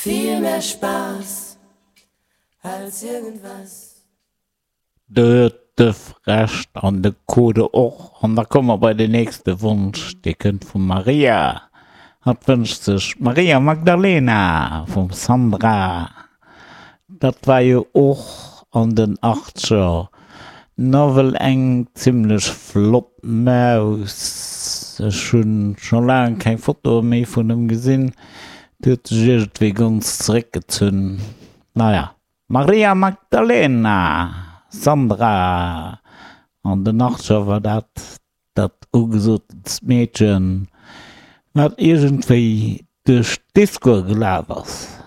Viel mehr Spaß als irgendwas. Do huet d'Duff Recht an de Code och. An da komme mer bei den nächste Wonsch, dee kënnt vum Maria. Hatt wënscht sech Maria Magdalena vum Sandra. Dat war jo och an den Achtzeger nawell eng zimlech flott Maus. Ech hunn scho laang keng Fotoe méi vun em gesinn, déi huet sech iergendwéi ganz zeréckgezunn. Naja, Maria Magdalena, Sandra, an den Achtzeger war dat dat ugesotent Meedchen, wat iergendwéi duerch d'Discoe gelaf ass.